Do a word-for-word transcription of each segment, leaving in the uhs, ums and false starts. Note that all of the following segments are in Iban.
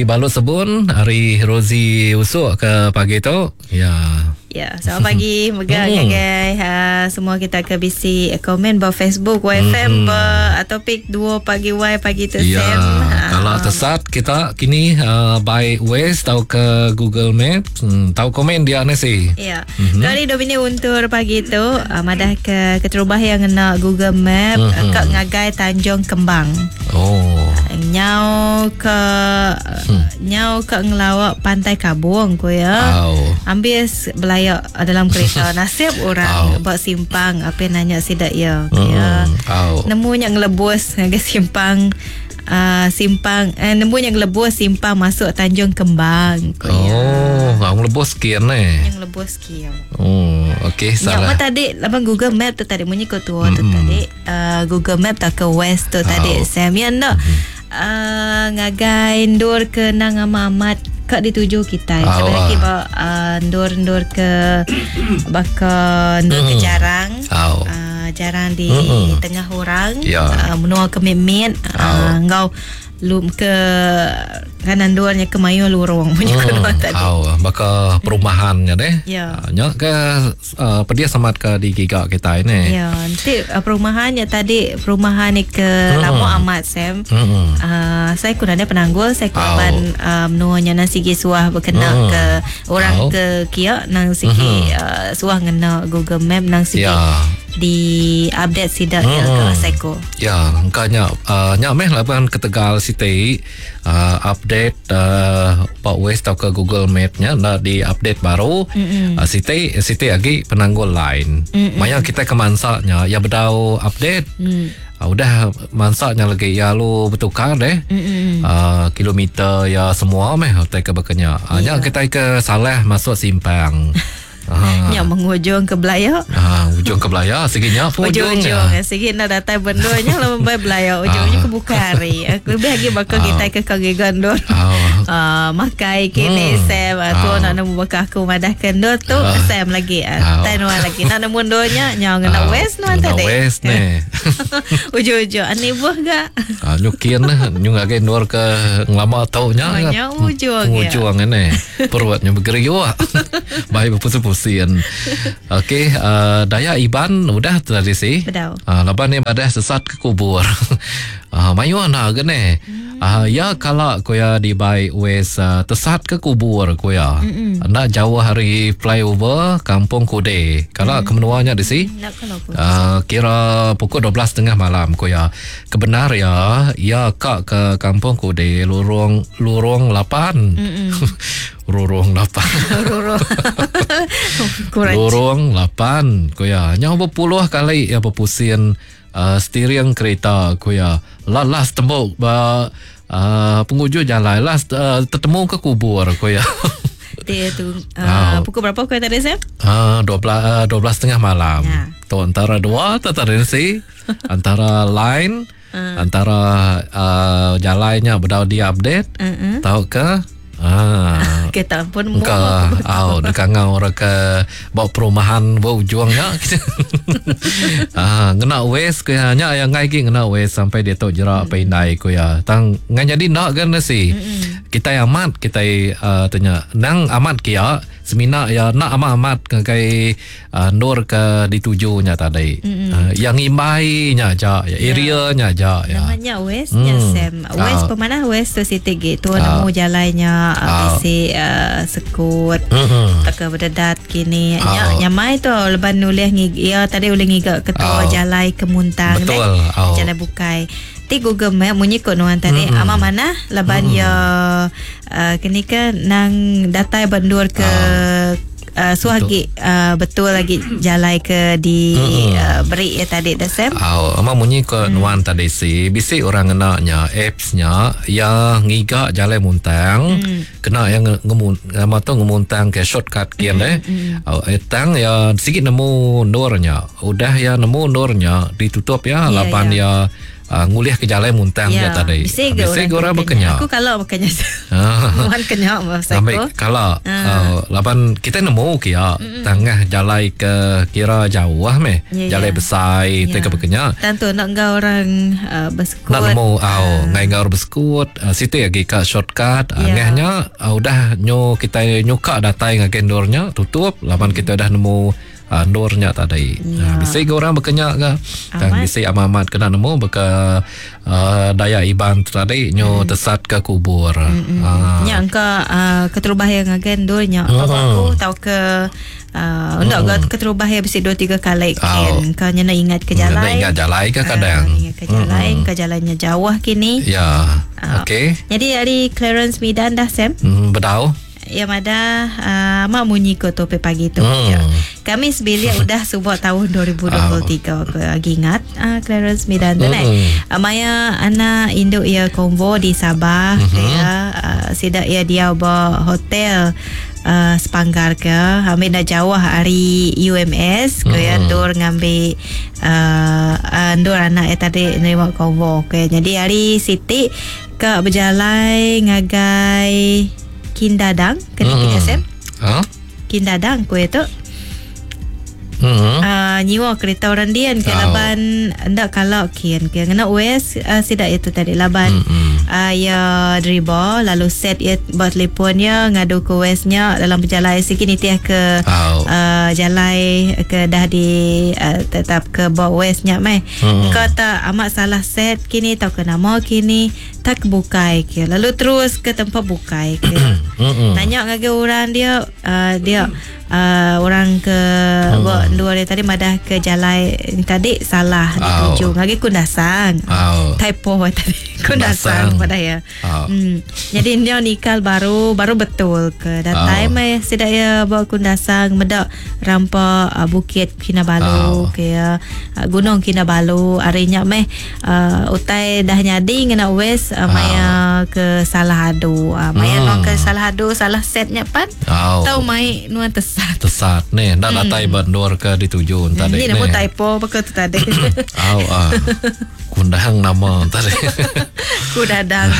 Balut Sebun hari Rozi Usuk ke pagi tu. Ya. Ya, selamat pagi mega hmm. ngagai uh, semua kita ke bisi komen ba Facebook Y F M hmm. ba topik dua pagi Y pagi tu ya, Sam. Kalau uh, tersat kita kini uh, by Waze atau ke Google Map, hmm, tahu komen dia ni sih. Ya. Mm-hmm. Kali Domini untur pagi tu uh, madah ke keterubah yang ngena Google Map mm-hmm. uh, ke ngagai Tanjung Kembang. Oh. Nyau ke hmm. nyau ke ngelawak Pantai Kabung ko ya. Oh. Ambil belayak dalam kereta nasib orang oh. buat simpang apa nanya sidak ya. Mm. Ya. Oh. Nemunya ngelebus ngagai simpang uh, simpang eh, nemunya ngelebus simpang masuk Tanjung Kembang ko ya. Oh, ngau ngelebus kian eh. Yang ngelebus kian. Oh, okey salah. Nyak tadi laban Google Map tu tadi munyi ko tua tu mm. tadi uh, Google Map tak ke West tu oh. tadi Sam ya nak mm. Uh, ngagai ndur ke nang amat kak dituju kita. Oh, Sebab lagi ba uh, ndur-ndur ke baka ndur mm. ke jarang. Oh. Uh, jarang di mm. tengah orang. Yeah. Uh, menua ke mimit uh, oh. ngau lum ke kanan duanya ke mayu lurung punya hmm. kedua tadi. Oh, baka perumahannya deh. Ya. Uh, nya ke uh, pedia semat ke di giga kita ini. Ya, nanti uh, perumahannya tadi perumahan ni ke hmm. lama amat Sam. Hmm. Uh, saya kurang ada penanggul, saya kurang oh. uh, menuanya nang sigi suah berkena hmm. ke orang oh. ke kia nang sigi hmm. uh, suah ngena Google Map nang sigi. Ya. Di update sidak hmm. ya ke Seiko. Ya, engkanya uh, nya meh laban ke Tegal City uh, update uh, Pak West atau ke Google Map nya nak di update baru. Mm-mm. Uh, City City lagi penanggul lain. Mm-mm. Maya kita ke mansaknya ya bedau update. Mm. Uh, udah mansaknya lagi ya lu bertukar deh. Mm-mm. Uh, kilometer ya semua meh hotel ke bekenya. Uh, yeah. Nya kita ke salah masuk simpang. Ha. Yang mengujung ke belaya. Ha, ujung ke belaya seginya pun ujung-ujung. Segi nak datang bendonya lah membai belaya ujungnya ke Bukari. Lebih lagi bakal ha. kita ke kaki gondol. Ha. Uh, makai kini hmm. Sam aku ha. nak nemu bakal aku madah kendor tu ha. Sam lagi. Ha. Tan wan lagi nak nemu donya nyau ngena ha. west nuan tadi. West ni. Ujung-ujung ani buh gak. Ha, nyukin nyu ngagai nur ke ngelama taunya. Nya ujung. Ujung ni. Perutnya bergeriuk. Baik berpusing-pusing. Okey, uh, Daya Iban udah tadi sih. Bedau. Uh, laban ni badah sesat ke kubur. uh, mayu anak ke ni. Hmm. Uh, ya kalau koya di by west uh, tesat ke kubur koya. Nak jauh hari flyover Kampung Kude. Kalau Mm. ke menuanya di si. Nak kalau aku. Uh, kira pukul dua belas tiga puluh malam koya. Kebenar ya, ya kak ke Kampung Kude lorong lorong lapan. Lorong lapan. Lorong. Kurang. Lorong lapan koya. Nyau berpuluh kali ya berpusing uh, steering kereta koya. Lalas tembok ba uh, penghujung jalan las uh, tertemu ke kubur koya. Dia tu uh, Oh. pukul berapa kau tadi Sam? Ah, dua belas dua belas setengah malam. Ya. Tu antara dua tadi si antara line Uh. antara uh, jalannya bedau di update Uh-uh. tahu ke ah Kita pun ke au dekat ngau orang ke bawa perumahan bawa ujungnya. Ah, ngena wes ke nya yang ngai ki ngena wes sampai dia tu jerak pandai ku ya. Tang ngan jadi nak kan si. Kita amat kita uh, tanya nang amat kia semina ya nak amat-amat ngagai uh, nur ke ditujunya tadi. Uh, yang imbai nya ja, ya, area nya ja ya. Namanya West nya Hmm. Sam. West Ah. pemanah West tu sitik gitu Ah. nemu jalannya Ah. bisi uh, sekut. Hmm. Tak ke berdedat kini. Ah. Nya nyamai tu leban nulih ngig ya tadi ulih ngiga ketua Ah. jalai ke Muntang Betul. deh. Ah. Jalai bukai. Ti Google Map munyi kot nuan tadi Mm-mm. ama mana laban ya uh, kini ke nang datai bandur ke uh, suah lagi uh, betul lagi jalai ke di Mm-mm. uh, beri ya tadi dah Sam. Aw, ama munyi ke hmm. nuan tadi si bisi orang ngenaknya appsnya ya ngiga jalai muntang Hmm. kena yang ngemun ama tu ngemuntang ke shortcut kian eh. Hmm. Aw, etang ya sikit nemu nurnya. Udah ya nemu nurnya ditutup ya Ya, laban ya. ya uh, ngulih ke jalai muntang ya, tadi. Bisi ke orang berkenya. Aku kalau berkenya. Muan kenya masa aku. Kalau uh, laban kita nemu kia tengah jalai ke kira jauh lah meh. Ya, jalai ya. Besar ya. Ke berkenya. Tentu nak ngau orang uh, bersekut. Nak nemu au uh. ngai ngau orang bersekut, uh, siti lagi ka shortcut, uh, ya. Ngahnya uh, udah nyo kita nyuka datai ngagai endurnya tutup laban kita dah nemu Uh, nurnya tadi. Ya. Ha, bisi ke orang berkenya ke? Dan bisi amat-amat kena nemu beka uh, Dayak Iban tadi nyo hmm. tesat ke kubur. Hmm. Uh. Nya engka uh, keterubah yang ngagen durnya. Uh. Aku tahu ke uh, untuk hmm. keterubah yang bisi dua tiga kali kan. Kau nya nak ingat ke jalan. Nak ingat jalan ke kadang. Uh, ingat ke jalan, hmm. ke jalannya jauh kini. Ya. Uh, Okey. Jadi hari Clarence Midan dah Sam. Hmm, bedau. Ya madah uh, mak munyi ko topi pagi tu. Hmm. Ya. Kami sebilik udah subak tahun dua ribu dua puluh tiga oh. Aku ingat uh, Clarence Midan tu hmm. uh, Maya anak induk ia konvo di Sabah mm-hmm. ya uh, sidak ia dia ba hotel uh, Sepanggar ke ambil dah jauh hari U M S ke ya mm-hmm. Dur ngambil uh, uh, dur anak ia tadi nerima konvo ke. Jadi hari Siti ke berjalan ngagai Kindadang kena hmm. S M. Ha? Kindadang ku itu. Hmm. Uh, nyiwa kereta orang dian ke oh. Laban ndak kalau kian ke ngena U S uh, sidak itu tadi laban hmm. uh, ya dribo lalu set ya buat telefonnya ngadu ke U S-nya dalam perjalanan sikit nitiah ke oh. uh, jalai ke dah di uh, tetap ke bawa U S-nya meh. Hmm. Kau tak amat salah set kini tau ke nama kini tak bukai ke lalu terus ke tempat bukai ke. Tanya ngagai orang dia uh, dia uh, orang ke hmm. buat dua dia tadi madah ke jalai tadi salah dituju ngagai Kundasang. Oh. Typo tadi Kundasang pada ya. Oh. Hmm. Jadi dia nikah baru baru betul ke datai oh. mai sedak ya bawa Kundasang medak rampa uh, Bukit Kinabalu oh. ke ya uh, Gunung Kinabalu arinya meh uh, utai dah nyadi ngena wes uh, maya oh. ke salah adu uh, maya hmm. hmm. ke salah adu salah setnya pan oh. tau mai nuan tesat tesat ni dah hmm. datai bandur ke dituju tadi ni ni nama typo apa tu tadi au ah kundang nama tadi kudadang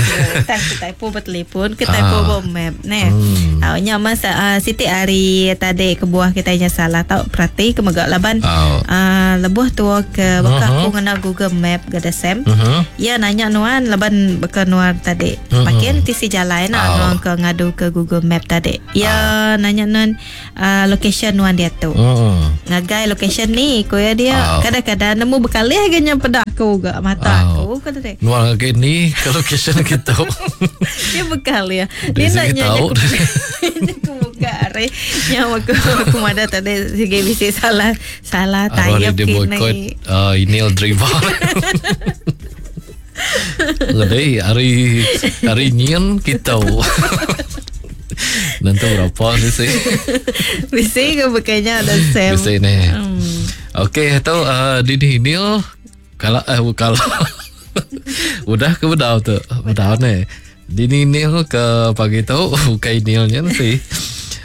tak typo bertelefon ke typo ah. ah. map ne hmm. uh, nya masa uh, Siti hari tadi kebuah kita nya salah tau perhati ke megak laban oh. uh, lebuh tua ke baka uh-huh. aku ngena Google Map gada Sam uh-huh. ya nanya nuan laban baka nuan tadi uh-huh. pakai tisi jalan nak oh. nuan ke ngadu ke Google Map tadi ya oh. nanya nuan uh, location nuan dia tu uh-huh. ngagai location ni ko ya dia oh. kadang-kadang nemu berkali agaknya pada aku gak mata oh. aku kata deh nuan lagi ni ke location kita dia bekal ya dia nanya tahu aku buka are nyawa aku aku ada tadi sige bisi salah salah tayap dia boycott uh, inil driver Lebih hari hari nyin kita nanti berapa sih bisi ke bukannya ada Sam bisi ni hmm. Okey tu uh, Dini Nil kalau eh kalau udah ke bedau tu bedau ni Dini Nil ke pagi tu bukan Nilnya sih.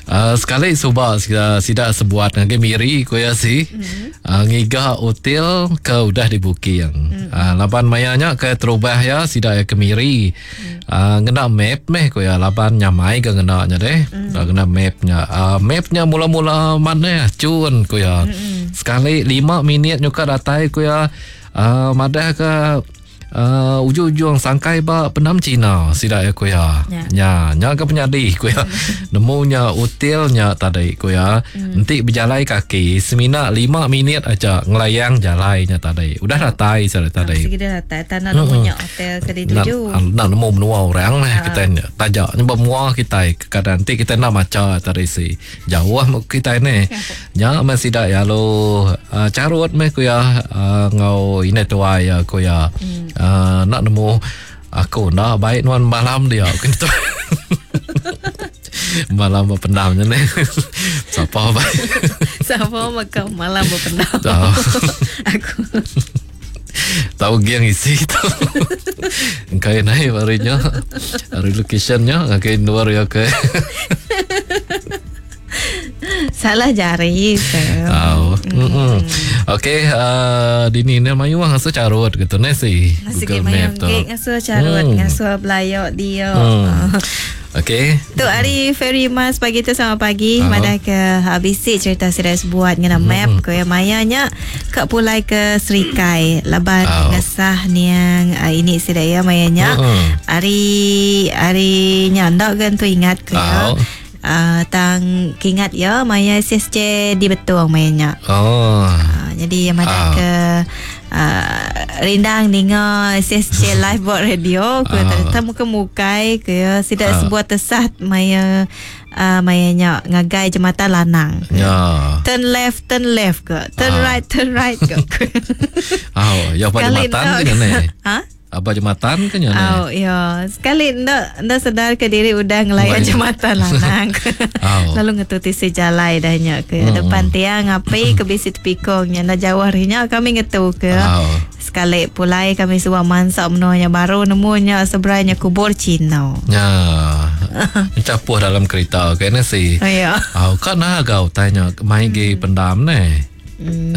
Uh, sekali subak sidak sebuat ngagai miri ko ya si mm-hmm. uh, ngiga hotel ke udah dibuking mm-hmm. uh, laban mayanya ke terubah ya sidak ya ke miri mm-hmm. uh, ngena map meh ko ya laban nyamai ke ngena nya deh mm-hmm. uh, ngena mapnya uh, mapnya mula-mula mana cun ko ya mm-hmm. sekali lima minit nyuka datai ko ya uh, madah ke Uh, ujung-ujung sangkai ba penam Cina sidak ya ko ya. Ya. Nya, nya ke penyadi ko ya. Nemunya hotelnya tadi ko ya. Hmm. Enti berjalai kaki semina lima minit aja ngelayang jalainya tadi. Udah datai sudah tadi. Sigi dah datai tak nak nemunya hotel ke dituju. Nak, nak nemu menua orang lah Ha. kita ni. Tajak ni bermua kita kadang nanti kita nak maca tadi si. Jauh kita ni. Nya masih dak ya lo uh, carut meh ko ya uh, ngau ini tuai ya ko ya. Hmm. Uh, nak nemu aku nak baik nuan malam dia aku tu. Malam berpendamnya ni. Siapa baik? Siapa makan malam berpendam? Tahu. Aku tahu giang isi tu. Engkai naik harinya. Hari locationnya engkai luar ya ke. Salah jari. Tahu. Hmm. Okey, uh, dini ni mayuh ngasuh carut gitu ne si Google Map tu. Ngasuh carut, hmm. ngasuh belayok dia. Hmm. Okey. Tu hari Ferry Mas pagi tu sama pagi uh-huh. Madah ke habisi cerita serius buat ngena map mm-hmm. Ko ya mayanya ke pulai ke Serikai laban oh. ngesah niang uh, ini sedaya mayanya mm-hmm. hari hari nya ndak kan tu ingat ke ya. Oh. Uh, tang kingat ya maya S S C di Betung mayanya. Oh. Uh, jadi yang madah oh. ke Uh, rindang ninga S S C live board radio ku uh. ternyata muka mukai ke ya sidak uh. sebuah tesat maya uh, mayanya ngagai jembatan Lanang. Ya. Turn left, turn left ke. Turn uh. right, turn right ke. Oh, ya apa jembatan ke ni? Ha? Apa jembatan ke ni? Oh, ya. Sekali ndak ndak sedar ke diri udah ngelayan jembatan Lanang. Oh. Lalu ngetuti sejalai dah nya ke hmm. depan tiang api ke bisi tepikongnya ndak jauh harinya kami ngetu ke. Oh. Sekali pulai kami semua mansak menuanya baru nemunya seberanya kubur Cina. Ya. Mencapuh dalam kereta ke ni si. Oh, ya. Oh, kan agak tanya mai gi pendam ni. Hmm.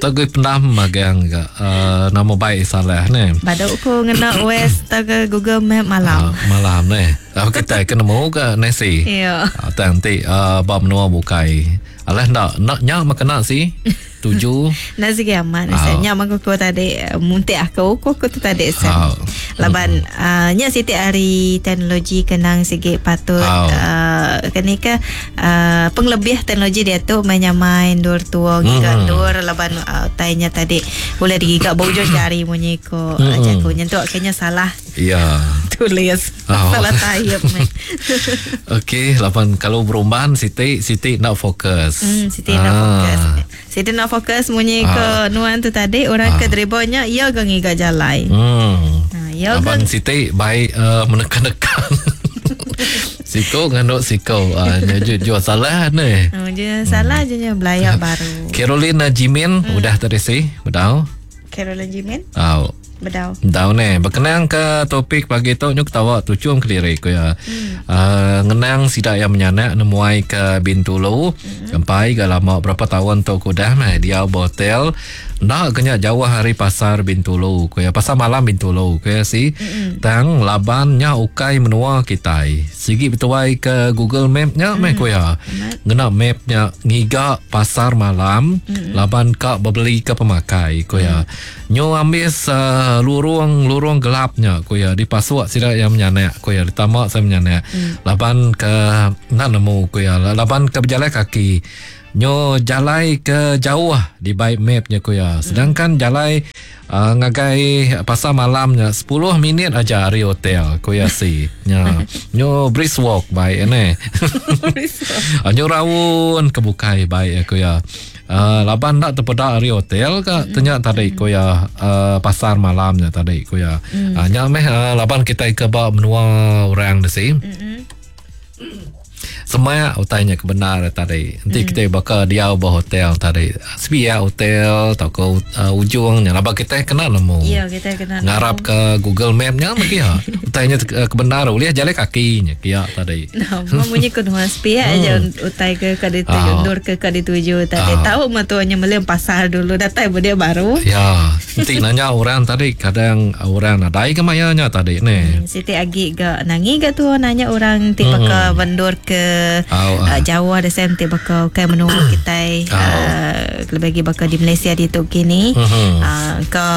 Tak gue pendam magang ke uh, nama baik salah ni. Baduk ku ngena West tak ke Google Map malam. Uh, malam ni. Uh, kita kena mau ke nasi. Ya. Uh, nanti uh, bab menua bukai. Alah nak nak nyak makan nak si. Tujuh. Nasi kiamat. Oh. Nyak makan ku tadi muntik aku ku ku tu tadi sen. Oh. Laban uh, nyak siti hari teknologi kenang sikit patut oh. uh, kini ke uh, penglebih teknologi dia tu menyamai dur tua giga mm. dur laban uh, tainya tadi boleh digigak bojong jari munyi ko mm. aja ko nyentuk kayaknya salah. Ya. Tulis oh. Salah type. Okey, laban kalau berumban Siti Siti nak fokus. Hmm, Siti ah. nak fokus. Siti nak fokus munyi ah. ke nuan tu tadi orang ah. ke dribonya ia ke ngiga jalai. Hmm. Ha, ya laban Siti baik uh, menekan-nekan. Siko nganduk siko. Ah uh, jual salah ni. Oh, dia salah je nya belayak baru. Caroline Jimin hmm. udah tadi si, bedau. Caroline Jimin? Oh. Bedau. Bedau ni. Berkenaan ke topik pagi tu nyuk ketawa tucung kediri ku ya. Hmm. Uh, ngenang sidak yang menyanak nemuai ke Bintulu. Hmm. Sampai ke lama berapa tahun tu ku dah meh dia hotel. Nak kena jauh hari pasar Bintulu ku ya. Pasar malam Bintulu ku ya si. Hmm. Tang labannya ukai menua kitai. Sigi betuai ke Google Map nya meh ku ya. Ngena map nya ngiga pasar malam hmm. laban ka berbeli ke pemakai ku ya. Hmm. Nyo ambis uh, lurung-lurung gelapnya ku ya dipasuk sida yang menyanak ku ya ditamak saya menyanak hmm. laban ke nak nemu ku ya laban ke berjalan kaki nyo jalai ke jauh di baik mapnya ku ya sedangkan hmm. jalai uh, ngagai pasar malamnya sepuluh minit aja hari hotel ku ya si nya nyo brisk walk baik ne nyo raun ke bukai baik ku ya. Uh, laban nak terpedak hari hotel ke mm. tanya tadi ko ya uh, pasar malamnya tadi ko ya mm. uh, nya meh uh, laban kita ke ba menua orang desi mm. Semua utainya kebenar tadi nanti mm. kita bakal dia ba hotel tadi sepia hotel atau ke uh, ujungnya laban kita kena nemu ya kita kena ngarap ke Google Map nya lagi ya utainya kebenar boleh jalan kakinya kia tadi nah bunyi ke dua sepia aja utai ke ke dituju dur ke ke dituju tadi oh. Tahu matuanya melem pasar dulu datai dia baru ya nanti nanya orang tadi kadang orang nadai ke mayanya tadi ni hmm, Siti agi ga nangi ga tu nanya orang tipe hmm. ke bendur ke Oh, uh, Jawa ada sem ti bakal kai menua kita oh. uh, lebih lagi bakal di Malaysia di tu kini uh-huh. uh, ke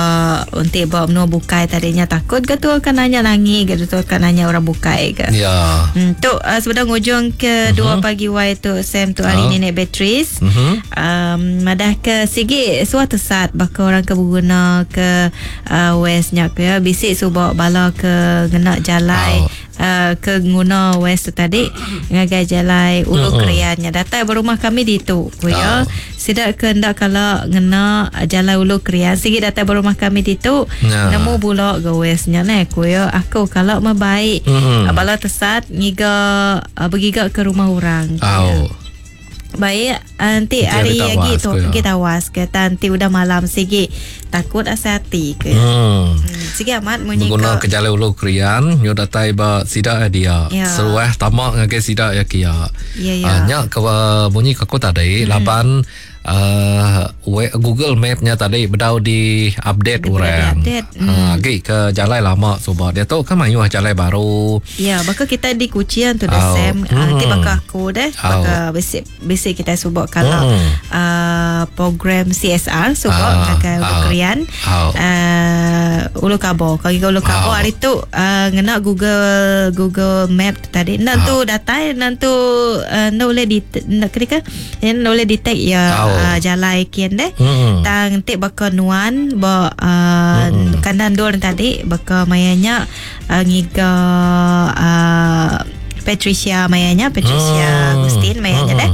untuk bawa menua bukai tadinya takut ke tu akan nanya nangi ke tu akan nanya orang bukai ke ya hmm, tu uh, sebelum ujung ke uh-huh. dua pagi wai tu sem tu hari oh. nenek Beatrice uh-huh. um, madah ke sigi suatu saat bakal orang ke berguna ke uh, westnya ke ya bisik subak bala ke ngena jalai oh. Uh, ke nguna west tu tadi ngagai jalai ulu uh-uh. kriannya datai berumah kami di tu ku ya oh. sidak ke ndak kalau ngena jalai ulu krian sigi datai berumah kami di tu nah. Nemu bulok ke westnya ne ku ya aku kalau mah baik uh-huh. bala tesat ngiga bergiga ke rumah orang oh. Baik nanti hari lagi tu kita tawas ke nanti udah malam sigi takut asa hati ke. Hmm. hmm. Sigi amat munyi guna ke jalan ulu krian nyo datai ba sida dia. Ya. Seruah tamak ngagai sida ya kia. Ya ya. Uh, nya ke bunyi ke aku tadi hmm. laban uh, Google Map-nya tadi bedau di update orang. Di update. Mm. Uh, agi ke jalai lama suba. Dia tu kan mayuh jalai baru. Ya, baka kita di Kuching tu dah oh. Sam. Mm. Uh, baka aku deh, baka oh. bisi bisi kita suba kalau mm. uh, program C S R suba uh, ngagai Ulu uh, Krian. Oh. Uh, Ulu Kabo. Kalau Ulu Kabo oh. hari tu uh, ngena Google Google Map tadi. Nan tu oh. datai nan tu uh, no boleh di nak ketika no boleh detect ya oh. uh, jalai kian deh. Mm. Tang tik baka nuan ba uh, mm. kanan dor tadi baka mayanya uh, ngiga uh, Patricia mayanya Patricia mm. Agustin mayanya mm. deh.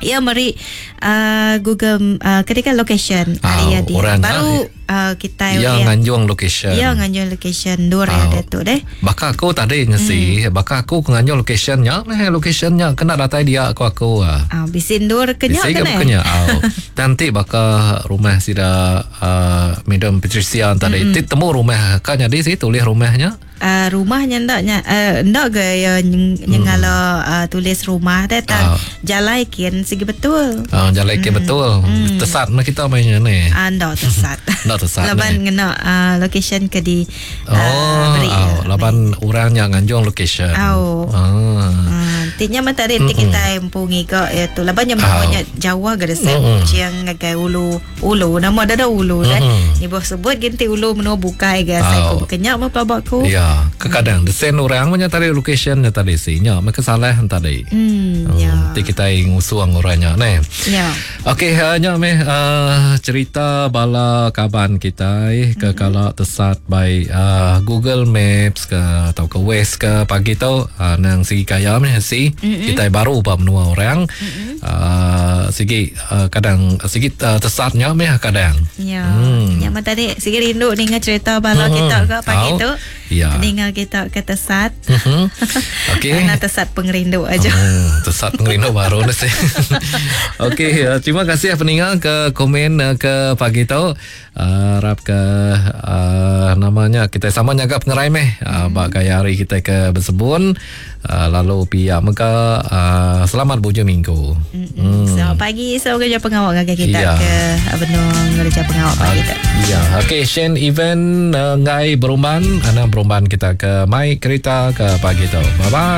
Ya meri uh, Google uh, ketika location oh, hari dia baru uh, kita ya nganjung location. Ya nganjung location dua oh. ada tu deh. Baka aku tadi ngesi, hmm. baka aku nganjung locationnya, meh locationnya kena datai dia aku aku. Ah uh, bisin dur kenya kena. Kenya. Oh. Nanti baka rumah sida uh, Madam Patricia tadi hmm. mm. temu rumah kan jadi sih tulis rumahnya. Uh, rumahnya ndak nya uh, ndak ke ya nyengala hmm. uh, tulis rumah deh tang uh. jalai kin segi betul. Ah uh, jalai kin hmm. betul. Hmm. Tesat mah kita mainnya ni. Ah uh, ndak tesat. Ndak tesat. Laban ngena uh, location ke di uh, oh, beri, oh, laban orang yang nganjung location. Oh. Ah. Uh, tinya mah tadi mm-hmm. kita empu ngiga ya tu laban yang namanya oh. Jawa ke desa mm-hmm. Kuching ngagai ulu ulu nama dah ada ulu mm-hmm. dah. Ni boh sebut genti ulu menua bukai ke Oh. saya ku kenyak mah pelabakku. Ya. Kekadang desen orang punya tadi locationnya tadi sih nya mereka salah tadi. Hmm, ya. Nanti kita ngusuang orangnya ne. Ya. Okey, uh, nya meh uh, cerita bala kaban kita eh, ke mm-hmm. kalau tesat by uh, Google Maps ke atau ke Waze ke pagi tu uh, nang segi kaya meh si mm-hmm. kita baru ba menua orang. Mm-hmm. Uh, segi uh, kadang segi uh, tesatnya meh kadang. Ya. Hmm. Nya mah tadi segi rindu ninga cerita bala hmm. kita ke pagi oh. tu. Ya. Dengar kita ke tesat. Mm-hmm. Okey. Nak tesat pengerindu aja. Hmm, tesat pengerindu baru ni sih. Okey, uh, terima kasih pendengar ke komen uh, ke pagi tu. Uh, harap ke uh, namanya kita sama nyaga pengerai meh. Uh, hmm. Bak gaya hari kita ke bersebun. Uh, lalu pihak mega uh, selamat bujung minggu. Mm-hmm. Hmm. Selamat pagi, selamat kerja pengawal ngagai kita ya. ke benung kerja pengawal pagi tu. Ya, okey Shane event uh, ngai berumban, anak berumban kita ke mai kereta ke pagi tu. Bye bye.